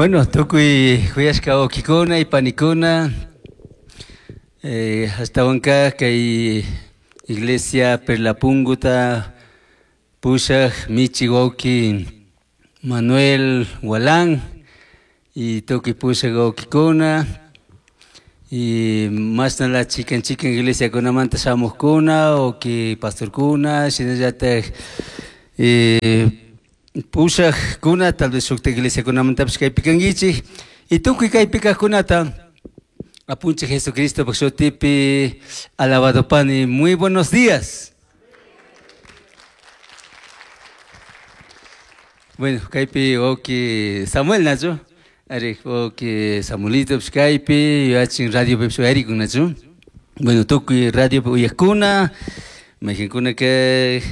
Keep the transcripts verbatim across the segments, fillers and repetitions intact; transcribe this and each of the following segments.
Bueno, tukuy kuyashka wawkikuna y panikuna, eh, ashtawanka kay iglesia Perlapunguta pushaj michi wawki Manuel Walán y tukuy pushaj wawkikuna y mashnala chikan chikan iglesiakunamanta shamujkuna wawki pastorkuna shinallatak eh, pushajkuna tal vez shukta iglesiakunamantapish kaypi kankichik y tukuy kaypi kajkunata Apunchik Jesucristo shutipi alabado pani. Muy buenos días. Bueno, kaypi wawki Samuel nachu, ari wawki Samuelito kaypi yachin radio pipish uyarikun nachu. Bueno, tukuy radio uyajkuna, mayqinkuna kay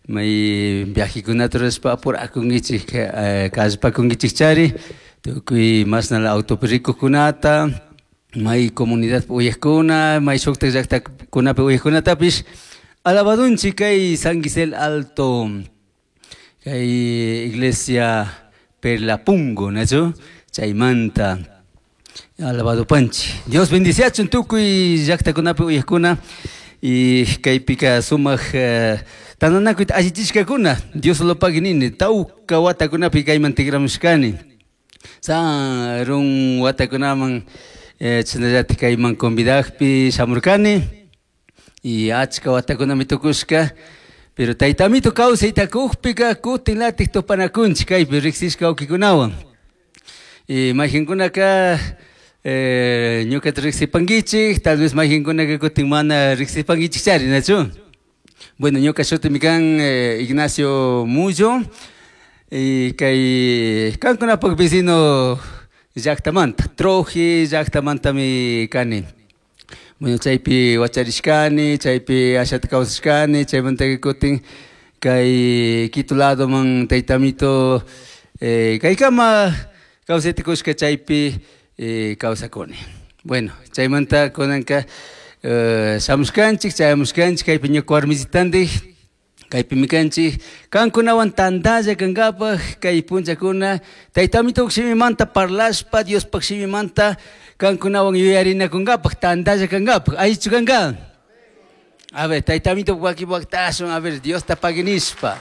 may viajekunata rurashpa apurakunkichik kallpakunkichik chari, tukuy mashnala autopi rikujkunata, may comunidad uyajkuna, may shuktak llaktakunapi uyajkunatapish alabadunchik kay San Gisel Alto, kay iglesia Perlapungo, nachu, chaymanta alabado panchi. Dios bendiciachun tukuy llaktakunapi uyajkuna y kaypika sumaq tananakuyta allichishkakuna. Dios lo pague nini, tawka watakunapi kayman tigramushkani. Sarun watakunaman chashnallatik kayman convidajpi shamurkani y achka watakunami tukushka, pero taytamito kawsayta kukpika kutin latik tupanakunchik kaypi riksishka wawkikunawan. Y mayqinkunaka eh, ñukata riksipankichik, tal vez mayqinkunaka kutin mana riksipankichik chari, nachu. Bueno, ñuka shutimi kan eh, Ignacio Mullo y kay kankunapak vecino llaktamanta, Troji llaktamantami kani. Bueno, chaypi wacharishkani, chaypi ashata kawsashkani, chaymanta kutin kay Quito ladoman taytamito eh, kaykama kawsayta kushka chaypi eh, kawsakuni. Bueno, chaymanta kunanka eh, shamushkanchik, chayamushkanchik kaypi ñuka warmisitandik, kaypimi kanchik kankunawan tantalla kankapaj kay punllakuna taytamito shimimanta parlashpa Diospaj shimimanta kankunawan yuyarinakunkapaj tantalla kankapaj. Allichu kanka? A ver, taytamito waki waktashun, a ver, Diosta paginishpa.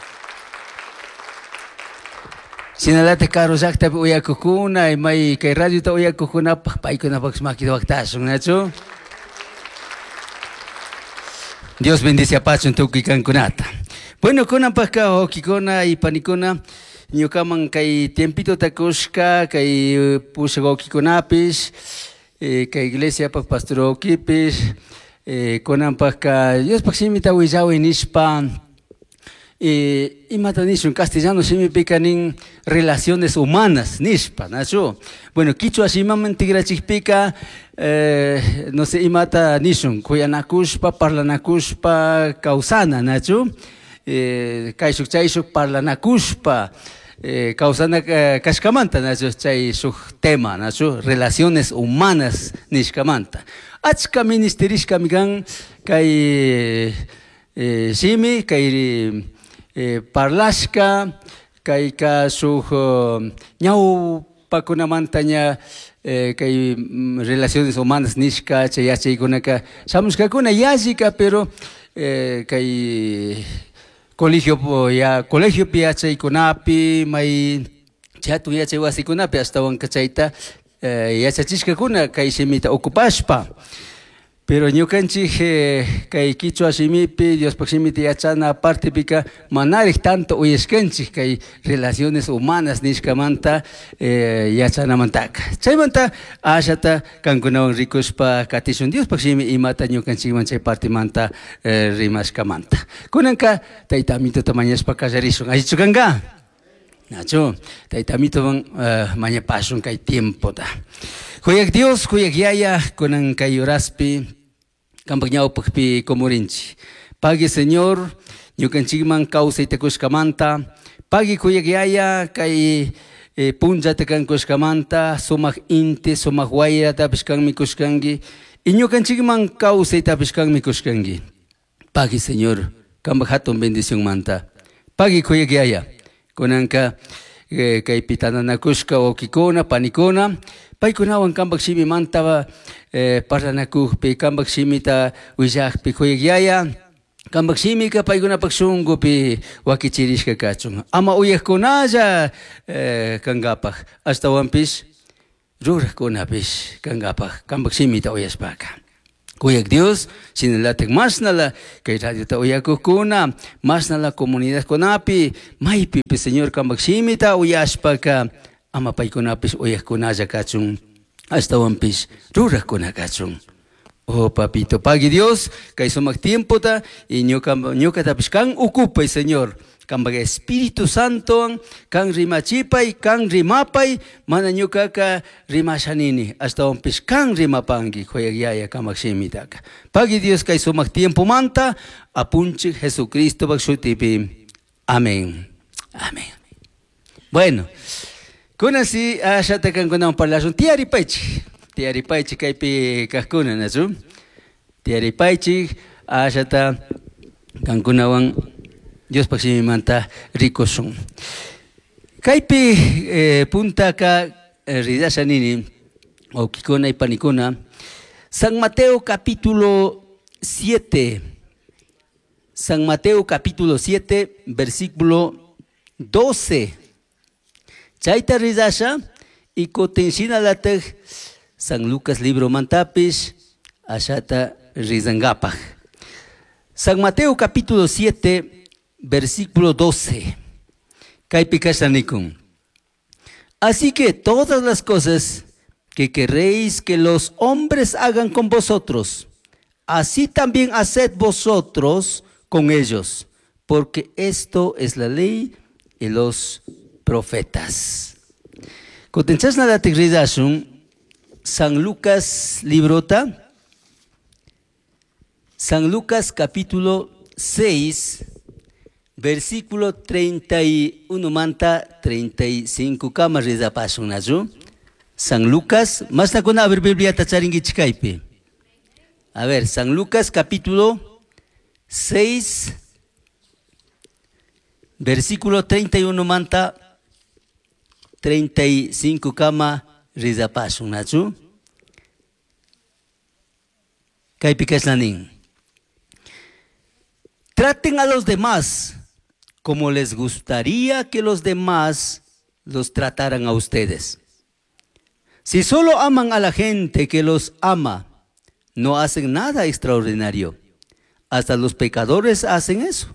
Shinalata karu llaktapi uyakukuna, may kay radiota uyakukunapaj paykunapaj makita waktashun, nachu? Dios bendice apachun tukuy kankunata. Bueno, kunanpajka wawkikuna y panikuna, ñukaman kay tiempito takushka, kay pushak wawkikunapish, eh, kay iglesiapaj pastor wawkipish, eh, kunanpajka Diospaj shimita willawi nishpa, eh, imata nishun castellano shimipika nin relaciones humanas nishpa, nachu. Bueno, kichwa shimaman tigrachikpika, eh, no sé, imata nishun, kuyanakushpa, parlanakushpa, kawsana, nachu. Eh, kayshuk chayshuk parlanakushpa, eh, kawsana eh, kashkamanta, nachu, chay shuk tema, nachu, relaciones humanas nishkamanta. Achka ministerishkami kan kay eh, shimi, kay eh, parlashka, kayka shuk ñawpakunamanta ña eh, kay relaciones humanas nishka, chay yachaykunaka shamushkakuna yallika, pero eh, kay colegio ya colegio pi yachaykunapi, may chatun yachay wasikunapi ashtawanka chayta eh, yachachishkakuna kay shimita ocupashpa. Pero ñukanchik eh, kay kichwa shimipi Diospaj shimita yachana partipika manarik tanto uyashkanchik kay relaciones humanas nishkamanta eh, yachanamantaka. Chaymanta ashata kankunawan rikushpa katishun Diospaj shimi imata ñukanchikman chay partimanta eh, rimashkamanta. Kunanka taytamituta mañashpa kallarishun. Allichu kanka? Nachu, taytamituwan uh, mañapashun kay tiempota. Kuyak Dios, kuyak Yaya, kunan kay horaspi, kampak ñawpakpi kumurinchik. Pagui Señor, ñukanchikman kawsayta kushkamanta, pagui kuyak Yaya, kay eh, punllata kan kushkamanta, sumaq inti, sumaq wayratapish kanmi kushkanki, y ñukanchikman kawsaytapish kanmi kushkanki. Pagui Señor, kampak hatun bendición manta. Pagui kuyak Yaya, kunanka eh, kaypi tananakushka wawkikuna panikuna paykunawan kanpak shimimanta eh, parlanakukpi kanpak shimita willakpi kuyak yaya kanpak shimika paykunapak shunkupi wakichirishka kachun ama uyakkunalla eh, kankapak ashtawanpish rurakkunapish kankapak kanpak shimita uyashpaka. Kuyak Dios, shinalatak mashnala kay radiota uyakukuna, mashnala comunidadkunapi, maypipi Señor kanpak shimita uyashpaka ama paykunapish uyakkunalla kachun, ashtawanpish rurakkuna kachun. Oh papito, pagui Dios, kay sumak tiempota y ñuka ñukatapish kan ukupay Señor. Kanpak Espíritu Santo kan rimachipay, kan rimapay, mana ñukaka rimashanini, ashtawanpish kan rimapanki kuyak yaya kamak shimitaka. Pagui Dios kay sumak tiempo manta, apunchik Jesucristo pak shutipi. Amén. Amén. Bueno, kunan si ashata kankunawan parlashun tiyaripaychik. Tiyaripaychik kaypi kaqkuna, nachu? Tiyaripaychik ashata kankunawan Diospak shimimanta rikushun. Kaypi eh, puntaka eh, ridasha nini, wawkikuna y panikuna, San Mateo capítulo siete, San Mateo capítulo siete, versículo doce. Chayta ridasha y kutin shinalataj San Lucas libro mantapish ashata rizangapaj. San Mateo capítulo siete, versículo doce. Kaypi kashtanikun. Así que todas las cosas que queréis que los hombres hagan con vosotros, así también haced vosotros con ellos, porque esto es la ley y los profetas. Kutin chashnalatik ridashun San Lucas librota, San Lucas capítulo seis, versículo treinta y uno manta treinta y cinco kama ridapashun nachu. San Lucas, mashnakuna a ver Bibliata charinkichik kaypi. A ver, San Lucas capítulo seis, versículo treinta y uno manta treinta y cinco kama ridapashun nachu. Kaypi kashnanin. Traten a los demás como les gustaría que los demás los trataran a ustedes. Si solo aman a la gente que los ama, no hacen nada extraordinario. Hasta los pecadores hacen eso.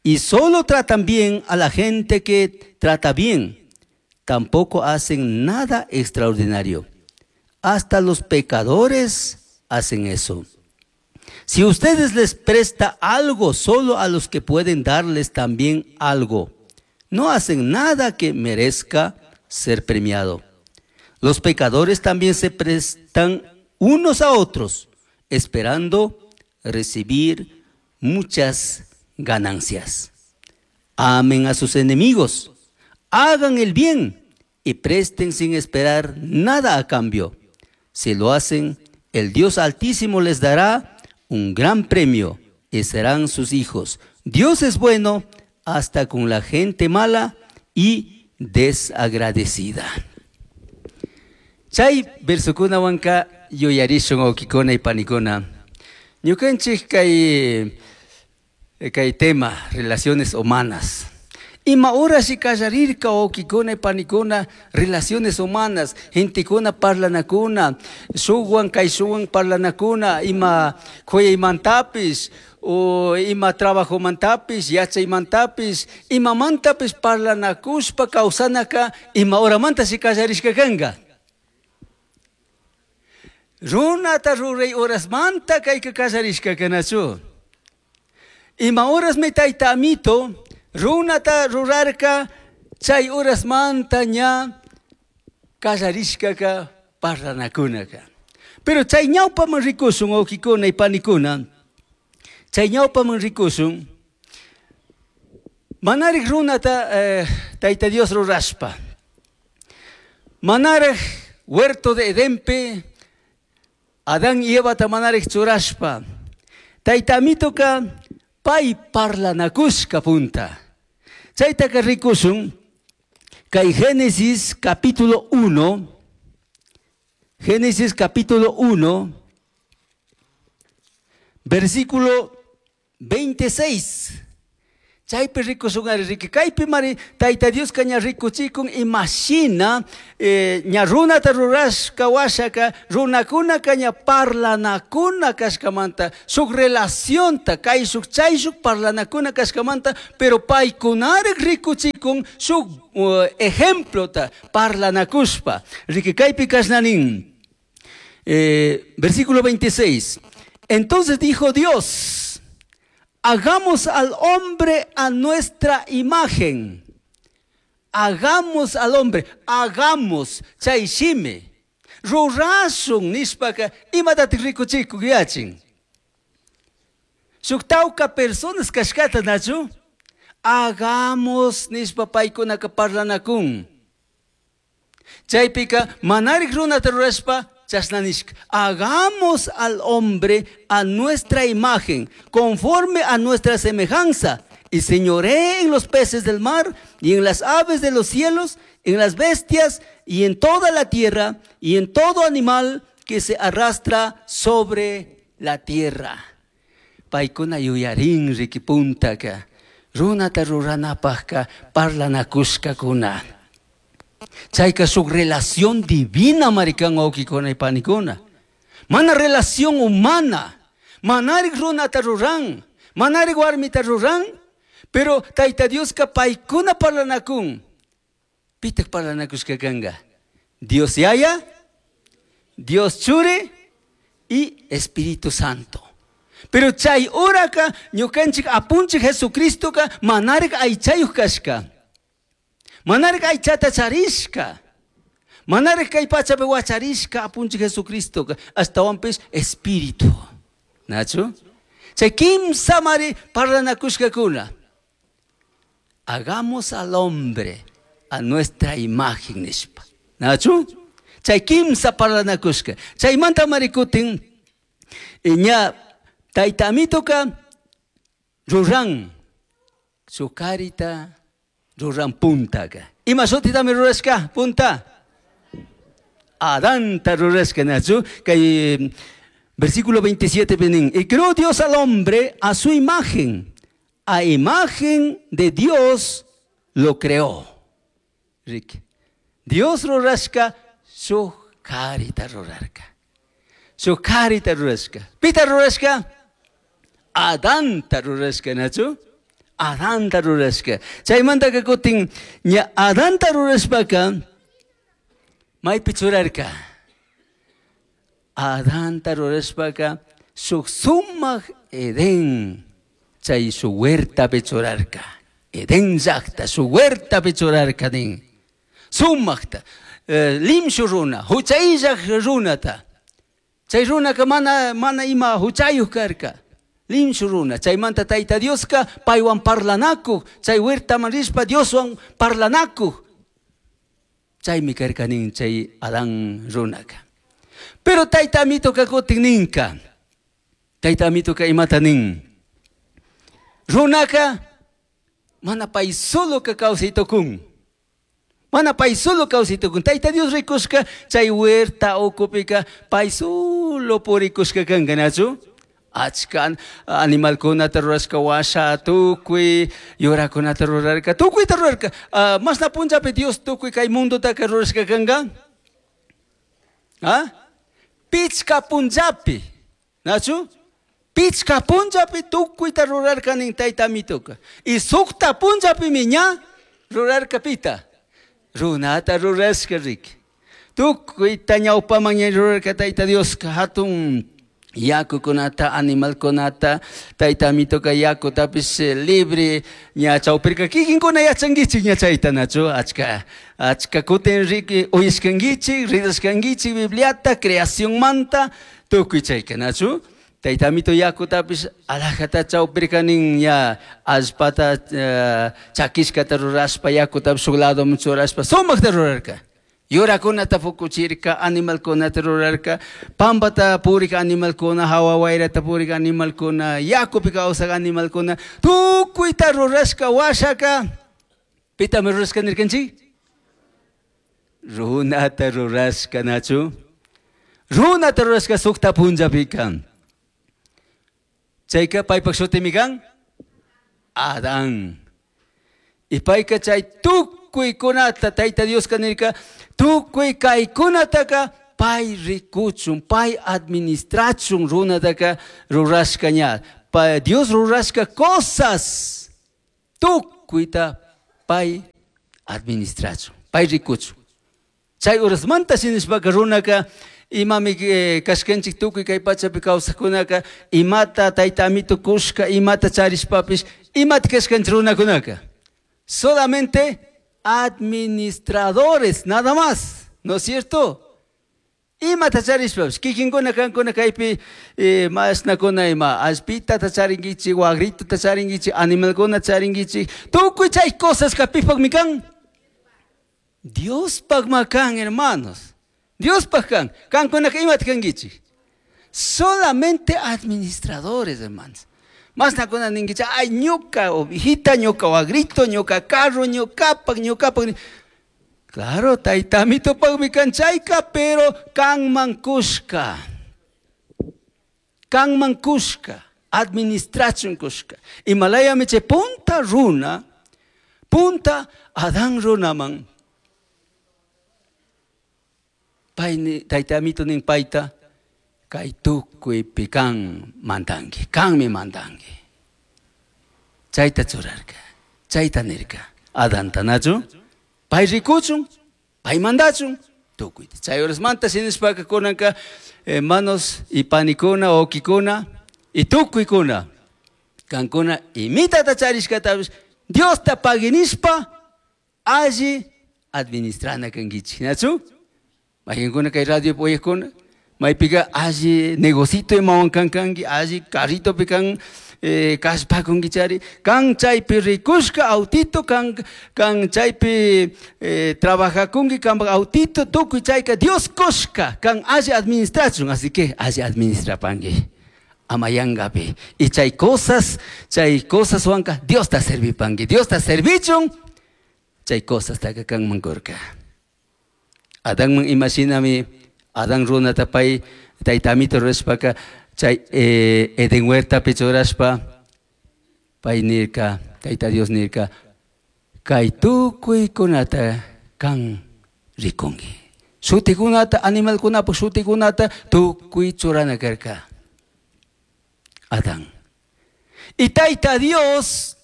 Y solo tratan bien a la gente que trata bien. Tampoco hacen nada extraordinario. Hasta los pecadores hacen eso. Si ustedes les presta algo solo a los que pueden darles también algo, no hacen nada que merezca ser premiado. Los pecadores también se prestan unos a otros, esperando recibir muchas ganancias. Amen a sus enemigos, hagan el bien y presten sin esperar nada a cambio. Si lo hacen, el Dios Altísimo les dará un gran premio y serán sus hijos. Dios es bueno hasta con la gente mala y desagradecida. Chay versokunawanka yuyarishun wawkikuna y panikuna. Ñukanchik kay, kay tema, relaciones humanas. Ima horas kallarirka wawkikuna y panikuna, relaciones humanas, gentekuna parlanakuna, shukwan kayshukwan parlanakuna, ima kuyaymantapish, o ima trabajomantapis, yachaymantapis, imamantapis parlanakushpa kawsanaka, ima horamanta si kallarishka kanka. Runata ruray horasmanta kayka kallarishka kanachu. Ima horasmi tayta amito, runata rurarka, chay horasmanta ña kallarishkaka parlanakunaka. Pero chay ñawpaman rikushun wawkikuna y panikuna, chay ñawpaman rikushun, manarik runata eh, tayta Dios rurashpa, manarik huerto de Edenpe, Adán y Evata manarik churashpa, tayta amitoka pay parlanakushka punta. Chaytaka rikushun, Kay Génesis capítulo uno, Génesis capítulo uno, versículo veintiséis. Chaypi rikushunari riki kaypi mari Tayta Dioska ña rikuchikun imashina eh, ña runata rurashka washaka runakunaka ña parlanakuna kashkamanta shuk relacionta kayshuk chayshuk parlanakuna kashkamanta pero paykunarik rikuchikun shuk uh, ejemplota parlanakushpa riki kaypi kashnanin eh, versículo veintiséis. Entonces dijo Dios: hagamos al hombre a nuestra imagen. Hagamos al hombre, hagamos chay shimi. Rurashun nishpaka imatatik rikuchikuk yachin. Shuk tawka personas kashkata nachu? Hagamos nishpa paykunaka parlanakun. Chaypika manarik runata rurashpa chasnanishka. Hagamos al hombre a nuestra imagen, conforme a nuestra semejanza, y señoree en los peces del mar, y en las aves de los cielos, en las bestias, y en toda la tierra, y en todo animal que se arrastra sobre la tierra. Paykuna yuyarin riki puntaka, runata ruranapajka parlanakushkakuna. Chayka shuk relación divina marikan wawkikuna y panikuna. Mana relación humana. Manarik runata ruran, manarik warmita ruran, pero Tayta Dioska paykuna parlanakun. Pitak parlanakushka kanga? Dios Yaya, Dios Churi y Espíritu Santo. Pero chay horaka ñukanchik apunchik Jesucristoka manarik aychayuq kashka. Manarik aychata charishka. Manarik kay pachapi wacharishka apunchik Jesucristoka ashtawanpish Espíritu. Nachu? Chay kimsa mari parlanakushkakuna. Hagamos al hombre a nuestra imagen nishpa. Nachu? Chay kimsa parlanakushka. Chaymanta marikutin ña Tayta Amitoka ruran sukarita ruran puntaka. Ima shutitami rurashka punta? Adanta rurashka nachu. Kay versículo veintisiete benin. Y creó Dios al hombre a su imagen. A imagen de Dios lo creó. Rick. Dios rurashka su karita rurarka. Su karita rurashka. Pita rurashka? Adanta rurashka nachu? Adanta rurashka. Chaymantaka kutin ña Adanta rurashpaka maypi churarka. Adanta rurashpaka shuk sumaq Edén chay su huertapi churarka. Edén llaqta su huertapi churarka nin. Sumaqta eh, limshu runa, huchayllaq runata. Chay runaka mana mana ima huchayuq karka. Limshu runa, chaymanta Tayta Dioska paywan parlanakuq, chay huertaman rishpa Dioswan parlanakuq. Chaymi karka nin chay Adán runaka. Pero Tayta Amitoka kutin ninka. Tayta Amitoka imata nin. Runaka mana pay solo ka kawsay tukun. Mana pay solo kawsay tukun. Tayta Dios rikushka chay huerta ukupika pay solo purikushka kanka nachu. Achka animalkunata rurashka washa tukuy yurakunata rurarka tukuyta rurarka. Uh, masna punllapi Dios tukuy kay mundotaka rurashka kanka? ¿Ah? Pichka punllapi. Nachu? Pichka punllapi tukuyta rurarka nin Tayta Amitoka. Y sukta punllapimi ña rurarka pita. Runata rurashka riki. Tukuyta ñawpaman ña rurarka Tayta Dioska hatun yakukunata, animalkunata, Tayta Amitoka yakutapish libre ña chawpirka kikinkuna yachankichik ña chayta nachu achka achka kutin riki uyashkankichik ridashkankichik Bibliata creacionmanta tukuy chayka nachu Tayta Amito yakutapish alajata chawpirka nin ña allpata uh, chakishkata rurashpa yakutapish shuk ladoman churashpa sumaqta rurarka. Yurakunata fukuchirka, animalkunata rurarka, pampata purik animalkuna, hawa wayrata purik animalkuna, yakupi kawsaq animalkuna, tukuyta rurashka washaka. Pitami rurashka nirkanchik? Runata rurashka nachu? Runata rurashka sukta punllapi kan. Chayka paypak shutimi kan? Adán. Y payka chay tukuykunata Tayta Dioska nirka tukuy kaykunataka pay rikuchun, pay administrachun runataka rurashka ña. Pa Dios rurashka cosas tukuyta pay administrachun, pay rikuchun. Chay urasmanta shinishpaka runaka imami eh, kashkanchik tukuy kay pachapi kawsaqkunaka imata tayta amito kushka imata charishpapish imata kashkanchik runakunaka. Solamente administradores, nada más, ¿no es cierto? Imata charishpapish kikinkuna kankuna kaypi eh, mashnakuna ima allpitata charinkichik, wagritota charinkichik, animalkuna charinkichik, tukuy chay cosas pipakmi kan? Diospakma kan, hermanos. Diospaj kan. Kankunaka imata kankichik? Solamente administradores, hermanos. Mashnakuna ninkichik, ay ñuka ovejita, ñuka wagrito, ñuka carro, ñukapak, ñukapak. Claro, tayta amitopakmi kan chayka, pero kanman kushka. Kanman kushka, administrachun kushka. Imalayami chay punta runa, punta Adán runaman. Pay tayta amito nin payta, kay tukuypi kan mandanki, kanmi mandanki. Chayta churarka, chayta nirka. Adanta nachu? Pay rikuchun, pay mandachun, tukuyta. Chay horasmanta shinishpaka kunanka hermanos y panikuna, okikuna, y tukuykuna. Kankuna imitata charishkatapish Diosta paginishpa alli administrana kankichik, nachu? Mayqinkuna kay radio uyaqkuna, maypika alli negocito imawan kan kanki, alli carritopi kan eh, kashpakunkichari, kan chaypi rikushka autito, kan, kan chaypi eh, trabajakunki, kanpak autito, tukuy chayka Dios kushka, kan alli administrachun, así que alli administrapanki. Ama yangapi. Y chay cosas, chay cosas wanka, Dios ta servipanki, Dios ta servichun, chay cosas taka kanman kurka. Adánman imashinami, Adán runata pay tayta amito rurashpaka, chay eh, Edén huertapi churashpa, pay nirka, tayta Dios nirka, kay tukuykunata kan rikunki. Shutikunata, animalkunapak shutikunata tukuy churana karka. Adán. Y tayta Dios,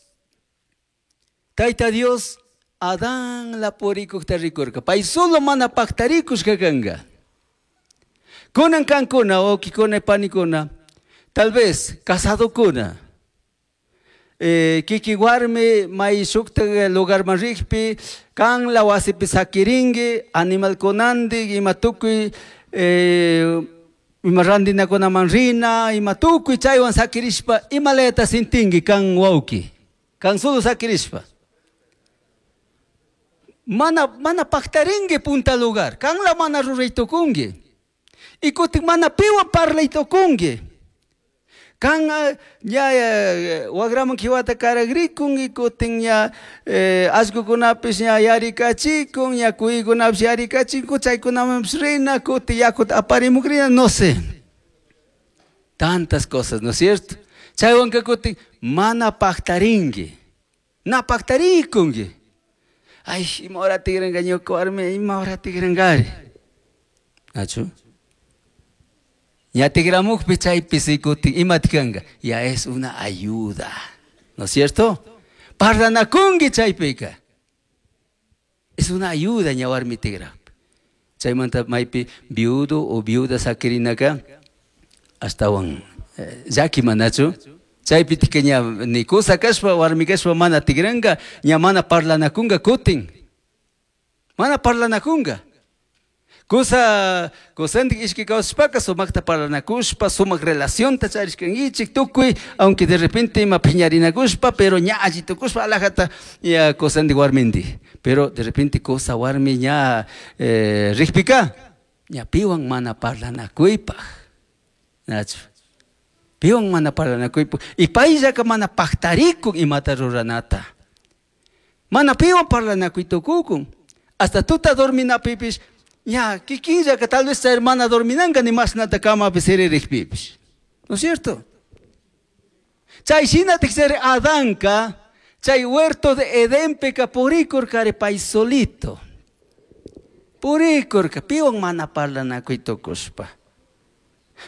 tayta Dios, Adán la purikukta rikurka. Pay solo mana paktarikushka kanka. Kunan kankuna, okikuna, panikuna, tal vez casadokuna, eh, kiki warmi may shukta lugarman rikpi, kan la wasipi sakirinki, animalkunandik, ima tukuy, eh, ima randinakunaman rina, ima tukuy chaywan sakirishpa, imalayata sintinki kan wawki, kan solo sakirishpa. Mana, mana paktarinki punta lugar, kan la mana ruraytukunki. Y kutin mana piwan parlaytukunki. Kan ña wagraman kiwata karagrikun, kutin ña eh, allkukunapish ña yarikachikun, ña kuykunapish yarikachikun, chaykunamanpish rina, kutin yakuta aparimukrina, no sé. Tantas cosas, ¿no es cierto? Chaywanka kutin mana paktarinki, na paktarikunki. Ay, ima hora tigranka ñuka warmi, ima hora tigrankari. ¿Nachu? Ya tigramukpi chaypi sikutin, imati kanka, ya es una ayuda, ¿no es cierto? Parlanakunki chaypika. Es una ayuda ña warmi tigrap. Chaymanta maypi viudo o viuda sakirinaka ashtawan llaki manachu. Chaypi tika ña ni kusa kashpa warmi kashpa mana tigranka, ña mana parlanakunka kutin. Mana parlanakunka. Kusa kusandik ishki kawsashpaka sumakta parlanakushpa, sumak relacionta charishkankichik tukuy, aunque de repente ima piñarinakushpa, pero ña alli tukushpa alajata ña kusandik warmindik. Pero de repente kusa warmi ña eh, rikpika, ña piwan mana parlanakuypaj. Nachu. Piwan mana parlanakuypaj. Y payllaka mana paktarikun imata ruranata. Mana piwan parlanakuytukukun. Hasta tuta dorminapipish, ña kikinllaka tal vez hermana dorminanka ni mashnata camapi siririkpipish. ¿No es cierto? Chay shinatik ser Adanka, chay huerto de Edenpeka purikurkari pay solito. Purikurka, piwan mana parlanakuy tukushpa.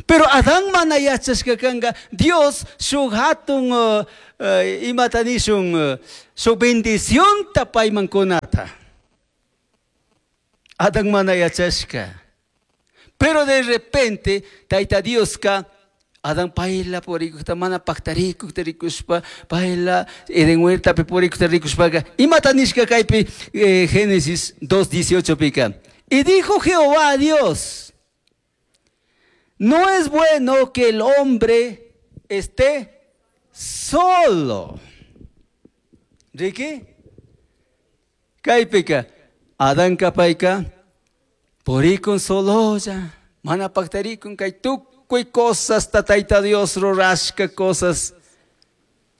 Pero Adán mana yachashka kanka, Dios shuk hatun uh, uh, imata nishun uh, shuk bendicionta payman kunata. Adán mana yachashka. Pero de repente, Tayta Dioska, Adán payla purikukta mana paktarikukta rikushpa, payla Eden huertapi purikukta rikushpaka, imata nishka kaypi eh, Génesis dos dieciocho pika. Y dijo Jehová a Dios, no es bueno que el hombre esté solo. Ricky? Kaypika, Adán kapayka, purikun sololla, mana paktarikun kay tukuy cosas ta Tayta Dios rurashka cosas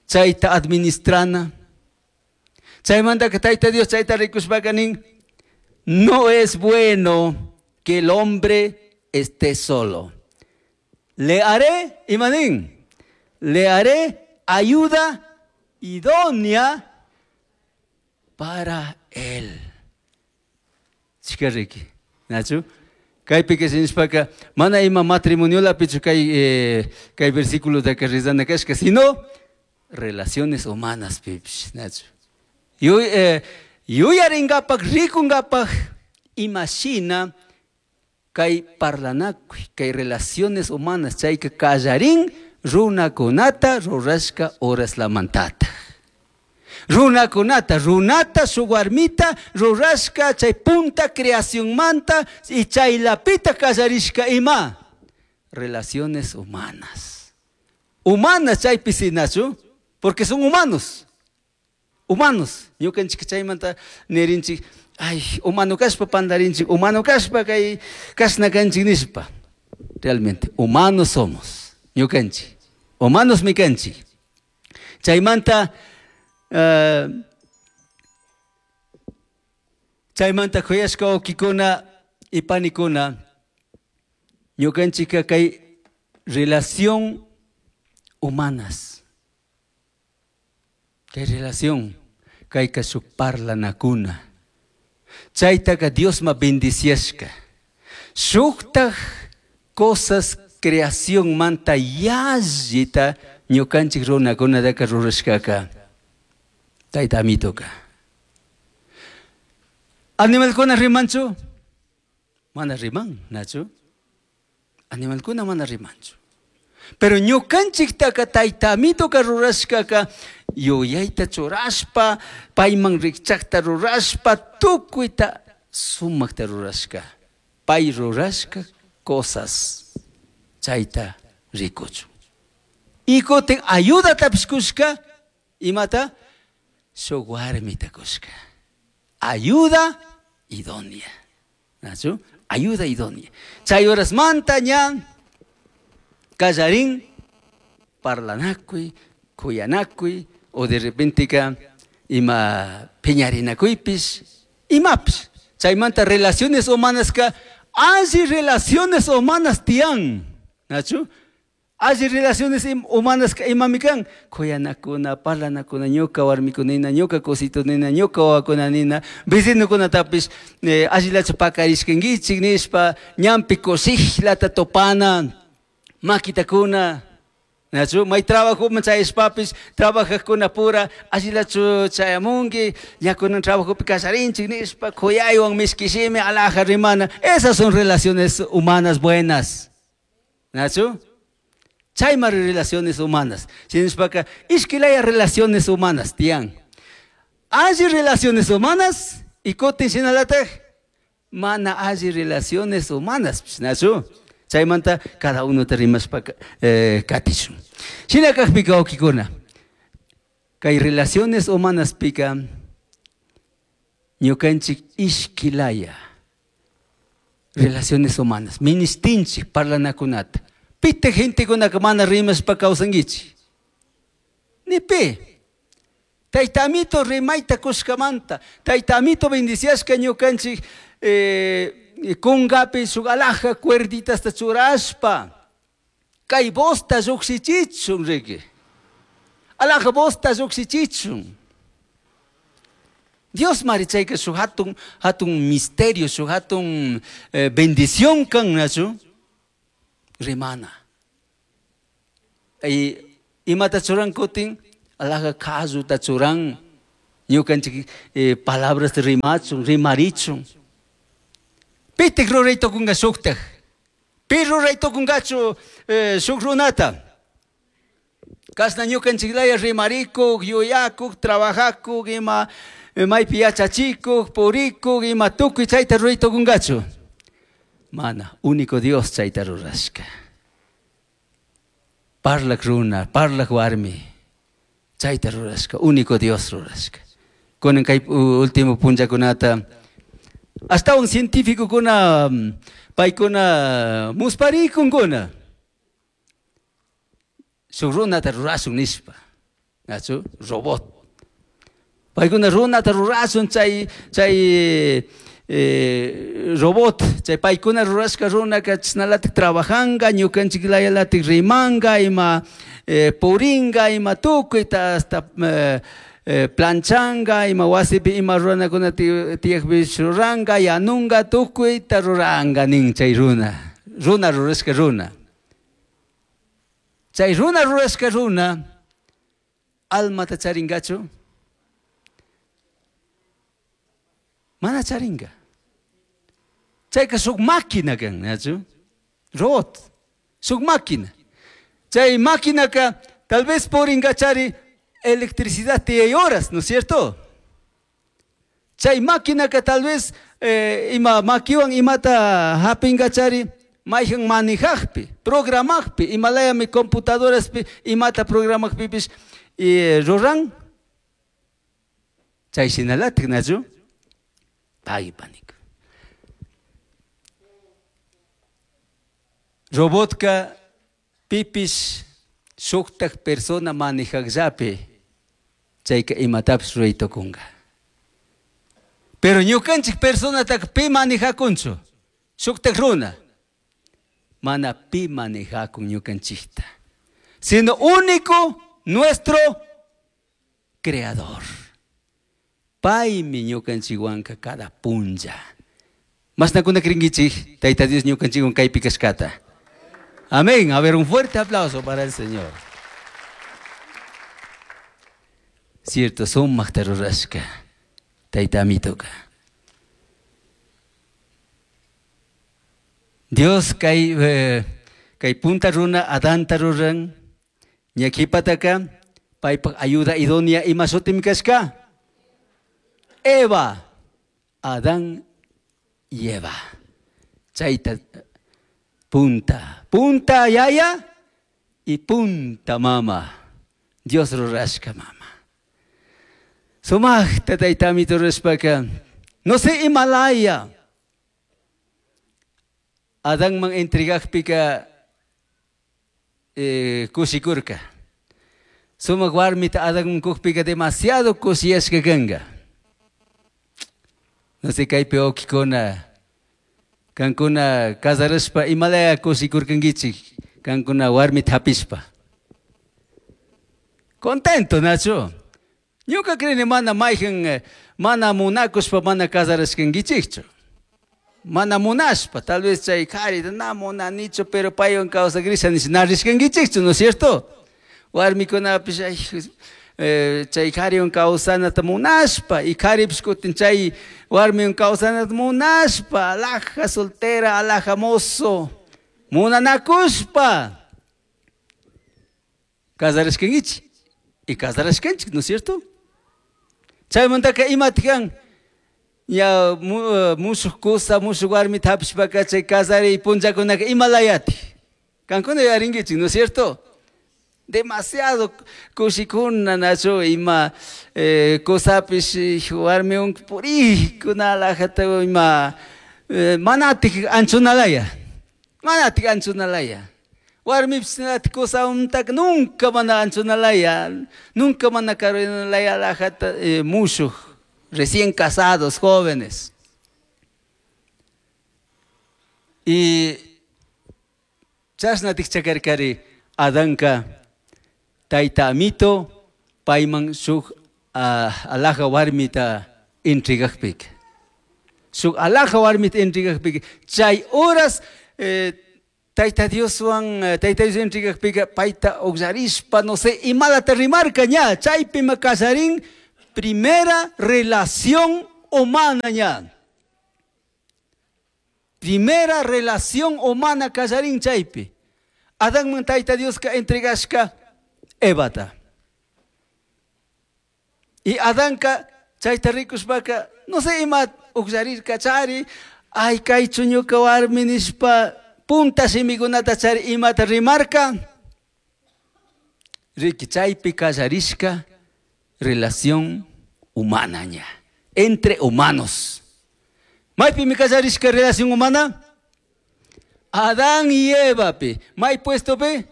chayta administrana. Chaymanta que Tayta Dios chayta rikushpaka nin, no es bueno que el hombre esté solo. Le haré, imanín, le haré ayuda idónea para él. Chikariki, Nacho. Kaypi que sinishpaka, mana ima matrimonio-lapichu kay, eh, kay versículo de que rizana kashka, sino relaciones humanas, pipish, Nacho. Yu, eh, yuyaringapak, rikungapak, imashina kay parlanakuy, kay relaciones humanas, chayka kallarin runakunata rurashka horaslamantata. Runakunata, runata, su warmita, rurashka, chay punta creación manta, y chaylapita kallarishka ima. Relaciones humanas. Humanas chaypi sinachu, porque son humanos. Humanos. Ñukanchik chaymanta nirinchik, ay, humano kashpa pandarinchik, humano kashpa kay kashna kanchik nishpa. Realmente, humanos somos. Ñukanchik. Humanos mikanchik. Chaymanta, Uh, chaymanta kuyashka wawkikuna y panikuna, ñukanchika kay relación humanas, kay relación, kayka shuk parlanakuna, chaytaka Diosma bendiciashka, shuktaj cosas creación manta yallita ñukanchik runakunataka rurashkaka. Tayta amitoka. Animalkuna rimanchu? Mana riman, Nacho. Animalkuna mana rimanchu. Pero ñukanchiktaka tayta amitoka rurashkaka yuyayta churashpa, payman rikchakta rurashpa, tukuyta sumakta rurashka. Pay rurashka cosas chayta rikuchu. Y kutin ayudatapish kushka, imata? Shuk warmita kushka. Ayuda idónea. ¿Nachu? Ayuda idónea. Chay horasmanta ña kallarin parlanakuy, kuyanakuy, o de repente ka ima piñarinakuypish, imapish. Chaymanta relaciones humanas ka, alli relaciones humanas tiyan. ¿Nachu? Alli relaciones humanas ka imami kan, kuyanakuna, parlanakuna, ñuka warmikunina, ñuka cositunina, ñuka wawakunanina, vecinokunatapish, eh, allillachu pakarishkankichik nishpa, ñampi kushikllata topana, makitakuna, Nachu, may trabajoman chayashpapish, trabajajkuna pura, allillachu chayamunki, ñakunan trabajopi kallarinchik nishpa, kuyaywan mishkishimi, alaja rimana. Esas son relaciones humanas buenas. Nachu? Chaymari relaciones humanas. Shinashpaka, ishkilaya relaciones humanas, tiyan. Alli relaciones humanas, y kutin shinalataj, mana alli relaciones humanas, nachu? Chaymanta cada uno te rimashpaka eh, katishun. Shinakajpika wawkikuna, kay relaciones humanas pika, ñukanchik ishkilaya relaciones humanas, ministinchik parlanakunata. Pite gentekunaka mana rimashpa kawsankichik. Ni pi. Tayta Amito rimayta kushkamanta, Tayta Amito bendiciashka ñukanchik eh, kungapi shuk alhaja cuerditasta churashpa, kay vozta llukshichichun riki. Alhaja vozta llukshichichun. Dios mari chayka shuk hatun, hatun misterio, shuk hatun eh, bendición kan, nachu? Rimana. Y imata churan kutin, alhaja kalluta churan, ñukanchik eh, palabras rimachun, rimarichun. Pitik ruray tukunga shuktak. Pi ruray tukungachu eh, shuk runata. Kasna ñukanchik laya rimarikuk, yuyakuk, trabajakuk, ima eh, maypi yachachikuk, purikuk, ima tukuy chayta ruray tukungachu. Mana, único Dios chayta rurashka. Parlak runa, parlak warmi. Chayta rurashka, único Dios rurashka. Kunan kay último punllakunata hasta un científico kuna paykuna musparikunkuna. Shuk runata rurashun nishpa. Nachu? Robot. Paykuna runata rurashun chay chay eh, robot, chay paykuna rurashka runaka chashnalatik trabajanga, ñukanchik layalatik rimanga, ima eh, puringa, ima tukuyta hasta eh, eh, planchanga, ima wasipi ima ruranakuna tiyakpi ruranga, yanunga, tukuyta ruranga nin chay runa. Runa rurashka runa. Chay runa rurashka runa, almata charingachu? Mana charinga. Chayka shuk máquina kan, nachu? Robot. Shuk máquina. Chay máquina ka tal vez puringa chari electricidad tiyay horas, ¿no es cierto? Chay máquina ka tal vez eh, ima makiwan imata hapinga chari mayhan manejajpi, programajpi, imalayami computadoraspi imata programajpipish y ruran. Chay shinalatik, nachu? Pagui panik. Robotka pipish shuktak persona manejajllapi chayka imatapish ruray tukunga. Pero ñukanchik personataka pi manejakunchu, shuktak runa. Mana pi manejakun ñukanchikta, sino único nuestro creador. Paymi ñukanchikwanka cada punlla. Mashnakuna krinkichik, Tayta Dios ñukanchikwan kaypi kashkata. Amén. A ver, un fuerte aplauso para el Señor. Cierto, sumakta rurashka, Tayta Amitoka. Dios kay, eh, kay punta runa Adanta ruran, ñakipataka, paypak ayuda idónea ima shutim kashka. Eva, Adán y Eva. Chayta punta, punta yaya y punta mama. Dios rurashka mama. Sumaqta Tayta Amito rurashpaka, no sé Himalaya. Adánman entregajpika eh, kushikurka. Sumaq warmita Adánman kujpika demasiado kushiyashka kanka. No sé kaypi wawqikuna, kankuna casarashpa imalaya kushikurkankichik, kankuna warmita hapishpa. Contento, Nacho. Ñuka creni mana mayhan, mana munakushpa mana casarashkankichikchu. Mana munashpa, tal vez chay qharita na munanichu, pero paywan kawsakrisha nish na rishkankichikchu, ¿no es cierto? Warmikunapish ay, eh, chay qhariwan kawsanata munashpa, y qharipish kutin chay warmiwan kawsanata munashpa, alhaja soltera, alhaja mozo, munanakushpa. Casarashkankichik, y casarashkanchik, ¿no es cierto? Chaymantaka imataq kan? Ya mushuq kusa, mushuq warmita hapishpaka chay casariy punllakunaka imalayati. Kankuna yuyarinkichik, ¿no es cierto? Demasiado kushikuna, nachu, ima eh, kusapish warmiwan purikuna alhajata ima eh, manatik anchunalaya. Manatik anchunalaya. Warmipish kusawantaca nunca mana anchunalaya, nunca mana karunalaya alajata eh, mushuj, recién casados, jóvenes. Y chashna tikchakarkari Adanka tayta amito payman shuk uh, alaja warmita entregakpika. Shuk alaja warmita entregakpika. Chay horas eh, Tayta Dioswan, Tayta Dios entregakpika payta uqllarishpa, no sé, imalata rimarka ña, chaypima kallarin primera relación humana ña. Primera relación humana kallarin chaypi. Adanman Tayta Dioska entregashka Evata. Y Adanka chayta rikushpaka, no sé, ima uqllarirka chari, ay kaychu ñuka warmi nishpa, punta shimikunata chari imata rimarka. Riki chaypi kallarishka relación humana ña, entre humanos. Maypimi kallarishka relación humana? Adán y Eva pi. May puesto pi?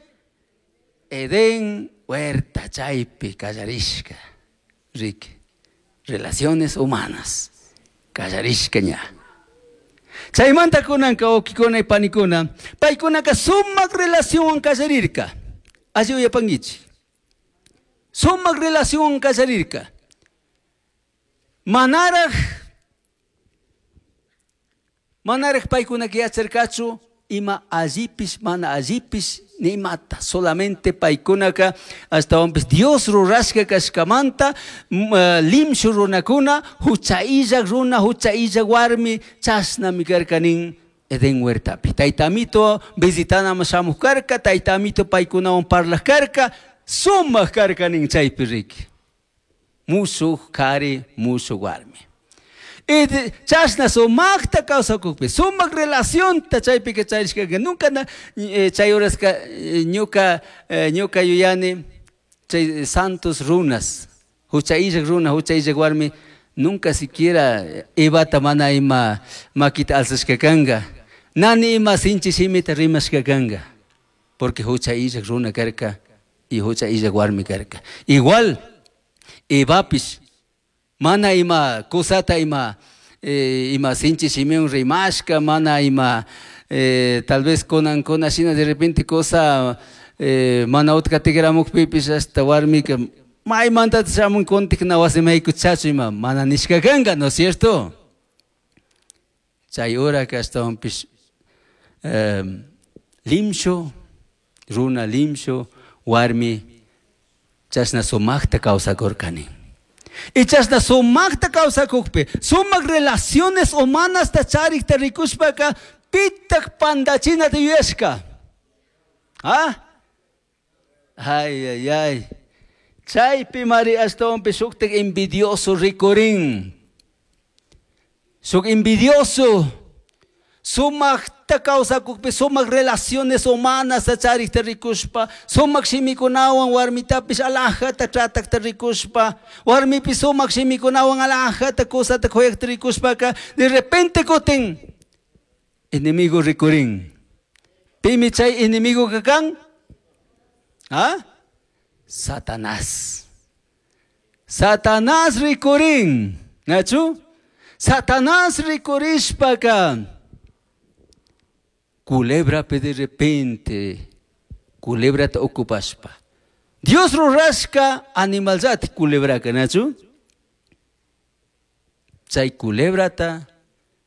Edén huerta chaypi kallarishka. Riki, relaciones humanas. Kallarishka ña. Chaymanta kunanka wawkikuna y panikuna, paykunaka sumak relación kallarirka. Alli uyapankichik. Sumak relación kallarirka. Manaraj, manaraj paykunaka yacharkachu ima allipish, mana allipish, nimata. Solamente paykunaka ashtawanpish Dios rurashka kashkamanta, uh, limshu runakuna, hucha illak runa, hucha illak warmi, chashnami karka nin Edén huertapi. Tayta amito visitanaman shamuj karka, tayta amito paykunawan parlaj karka, sumak karka nin chaypi riki. Mushuj kari, mushuj warmi. Y chashna sumakta kawsakukpi, sumak relacionta chaypika charishkaka, nunca na, eh, chay horaska ñuka, eh, ñuka yuyani, chay santos runas, hucha illak runa, hucha illak warmi, nunca siquiera Evata mana ima makita alzashka kanka, nani ima sinchi shimita rimashka kanka, porque hucha illak runa karka y hucha illak warmi karka. Igual, Evapish, mana ima kusata ima, eh, ima sinchi shimiwan rimashka, mana ima eh, tal vez kunan kuna shina de repente cosa eh, mana utka tikramukpipish hasta warmika maymanta shamun kuntik na wasiman haykuchachu ima mana nishka kanka, ¿no es cierto? Chay horaka ashtawanpish eh, limshu, runa limshu, warmi chashna sumakta kawsakurkani. Y chashna sumakta kawsakukpi, sumak relaciones humanasta charikta rikushpaka, pitak pandachinata yuyashka. ¿Ah? Ay, ay, ay. Chaypi mari ashtawanpish shuktak envidioso rikurin. Shuk envidioso. Sumakta kawsakukpi, sumak relaciones humanas charikta rikushpa, sumak shimikunawan warmitapish alajata tratakta rikushpa, warmipish sumak shimikunawan alajata kusata kuyakta rikushpaka, de repente kutin enemigo rikurin. Pimi chay enemigo kakan? ¿Ah? Satanás. Satanás rikurin. ¿Nachu? Satanás rikurishpaka. Culebra de repente, culebra te ocupaspa. Dios rurashka animalzati culebra nachu. Chay culebrata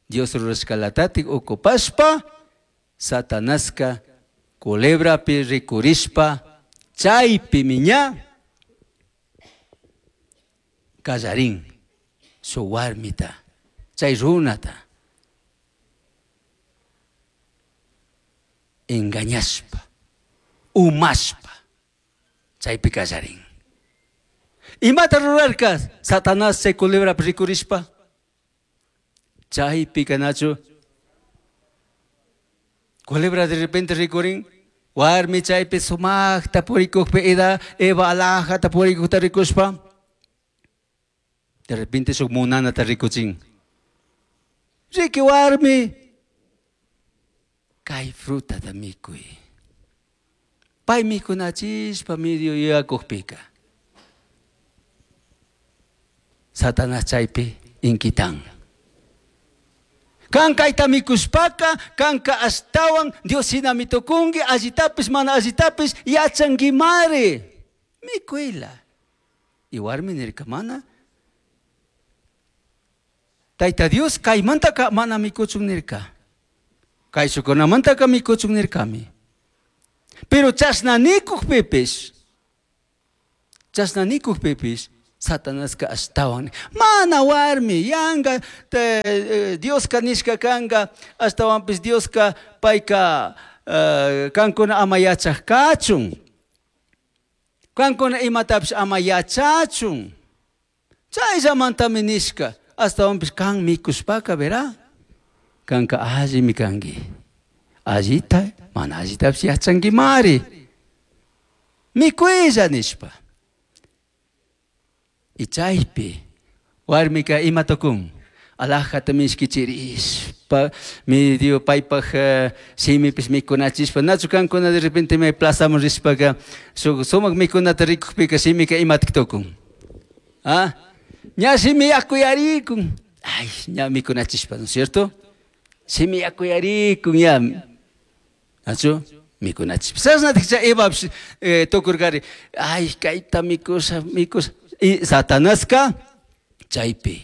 Dios rurashka latati ocupaspa, Satanaska culebra pi rikurishpa, chaypi miña kallarin su warmita, chay runata. Engañashpa, umashpa, chaypi kallarin. Imata rurarka Satanás chay culebra rikurishpa, chaypi kanachu. Culebra de repente rikurin, warmi chaypi sumakta purikukpi eda Eva alajata purikukta rikushpa, de repente shuk munanata rikuchin. Riki warmi, kay frutata mikuy. Pay mikunachishpa medio yuyakukpika. Satanás chaypi inquitan. Kan kayta mikushpaka, kanka ashtawan Dios shinami tukunki, allitapish mana allitapish yachankimari. Mikuila. Y warmi nirka mana. Tayta Dios kaymantaka mana mikuchun nirka. Kayshukunamantaka mikuchun nirkami. Pero chashna nikukpipish, chashna nikukpipish, Satanaska ashtawan mana warmi yanga te, eh, Dioska nishka kanga ashtawanpish Dioska payka uh, kankuna ama yachaj kachun, kankuna imatapish ama yachachun, chayllamantami nishka ashtawanpish kan mikushpaka verá kanka allimi kanki, allita mana allitapish yachankimari, mikuylla nishpa. Y chaypi warmika ima tukun alajata mishkichirishpa medio paypaj uh, shimipish mikunachishpa nachu kankuna de repente may plazaman rishpaka shuk sumak mikunata rikukpika shimika imatik tukun, ah ña shimi yakuyarikun, ay ña mikunachishpa, ¿no es cierto? Shimi yakuyarikun ya nachu mikunachishpa chashnatik chay Evapish eh, tukurkari ay kayta mikusha mikusha. Y Satanaska chaypi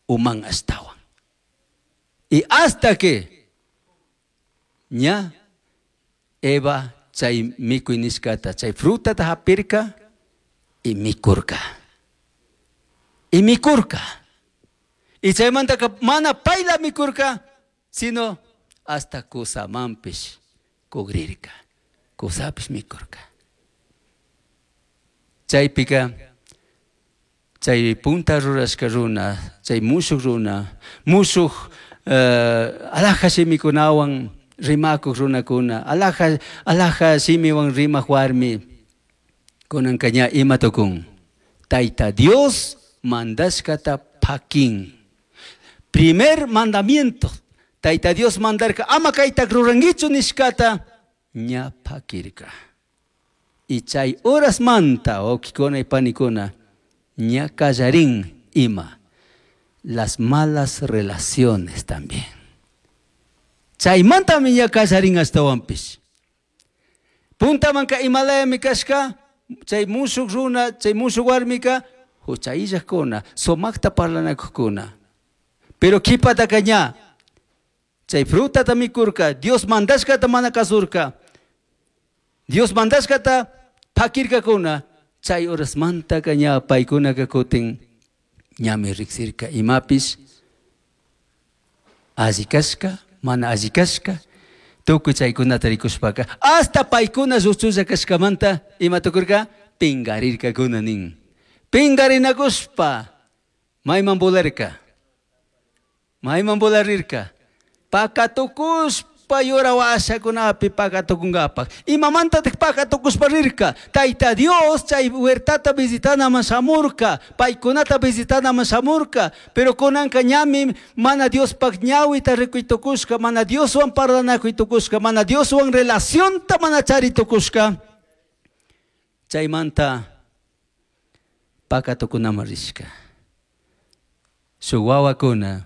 uman ashtawan. Y hasta que ña Eva chay mikuy nishkata chay frutata hapirka y mikurka. Y mikurka. Y chaymantaka mana payla mikurka, sino hasta kusamanpish kugrirka. Kusapish mikurka. Chaypika chay punta rurashka runa, chay mushuk runa, mushuk uh, alaja shimikunawan rimakuk runakuna, alaja, alaja shimiwan rimak warmi, kunanka ña ima tukun. Tayta Dios mandashkata pakin. Primer mandamiento, Tayta Dios mandarka, ama kaytak rurankichu nishkata, ña pakirka. Y chay horas manta, wawkikuna y panikuna, ña kallarin ima, las malas relaciones también. Chaymantami ña kallarin ashtawanpish. Puntamanka imalayami kashka, chay mushuk runa, chay mushuk warmika, huchayillakuna, sumakta parlanakukuna. Pero kipataka ña, chay frutata mikurka, Dios mandashkata mana kasurka, Dios mandashkata pakirkakuna, chay horasmantaka ña paykunaka kutin ñami riksirka imapish alli kashka, mana alli kashka, tukuy chaykunata rikushpaka, hasta paykuna lluchulla kashkamanta ima tukurka pingarirkakuna nin. Pingarinakushpa mayman volarka, mayman volarirka, pakatukushpa yura washakunapi pakatukunkapak. Imamantatik pakatukushpa rirka? Tayta Dios chay huertata visitanaman shamurka, paykunata visitanaman shamurka, pero kunanka ñami mana Diospaj ñawita rikuytukushka, mana Dioswan parlanakuytukushka, mana Dioswan relacionta mana charitukushka. Chaymanta pakatukunaman rishka. Shuk wawakuna,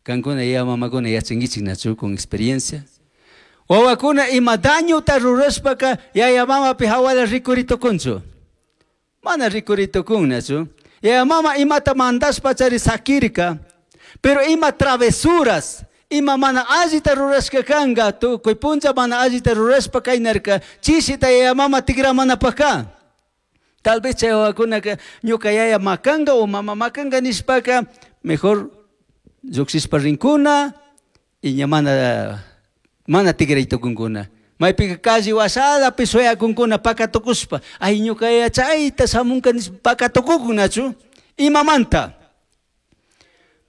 kankuna ya mamakuna yachankichik nachu con experiencia. Wawakuna ima dañuta rurashpaka yaya mamapi hawala rikuritukunchu. Mana rikuritukunnachu. Yaya mama imata mandashpa chari sakirka, pero ima travesuras, ima mana allita rurashka kanga, tukuy puncha mana allita rurashpa kaynarka, chishita yaya mama tigramanapaka. Tal vez chay wawakunaka ñuka yaya makanga o mama makanga nishpaka, mejor llukshishpa rinkuna y ña mana mana tigraytukunkuna. Maypika calle wasalapi suyakunkuna pakatukushpa, ay ñuka yaya chayta shamunka nishpa pakatukukunachu. Imamanta?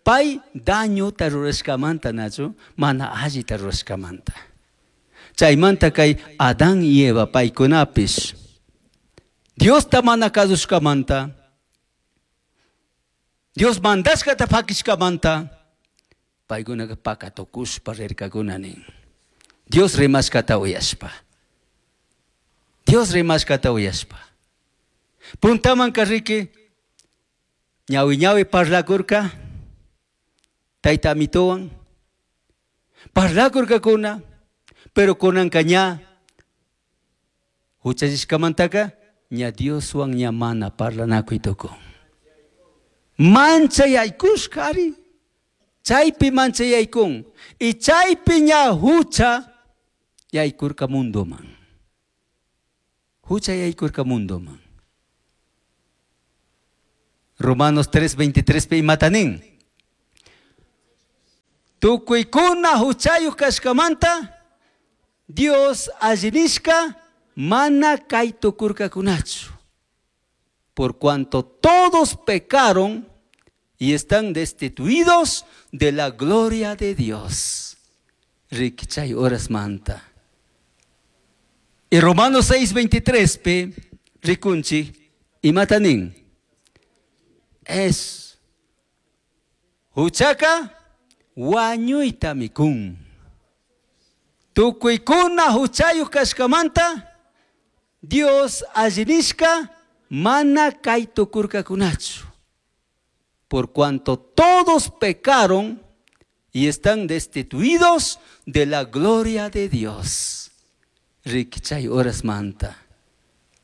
Pay dañuta rurashkamanta nachu, mana allita rurashkamanta. Chaymanta kay Adán y Eva paykunapish Diosta mana kasushkamanta, Dios mandashkata pakishkamanta, paykunaka pakatukushpa rirkakuna nin. Dios rimashkata uyashpa. Dios rimashkata uyashpa. Puntamanka riki ñawi ñawi parlakurka tayta amituwan parlakurkakuna pero kunanka ña huchallishkamantaka ña Dioswan ña mana parlanakuy tukun. Manchayaykushka ari. Chaypi manchayaykun. Y chaypi ña hucha yaykurka mundoman. Hucha yaykurka mundoman. Romanos tres veintitrés pi imata nin. Tukuykuna huchayuq kashkamanta Dios allinishka mana kay tukurkakunachu. Por cuanto todos pecaron y están destituidos de la gloria de Dios. Rikichay horas manta. Y Romanos seis veintitrés pi rikunchi imata nin. Es huchaka wañuyta mikun. Tukuykuna huchayuq kashkamanta Dios allinishka mana kay tukurkakunachu. Por cuanto todos pecaron y están destituidos de la gloria de Dios. Rikichay horas manta.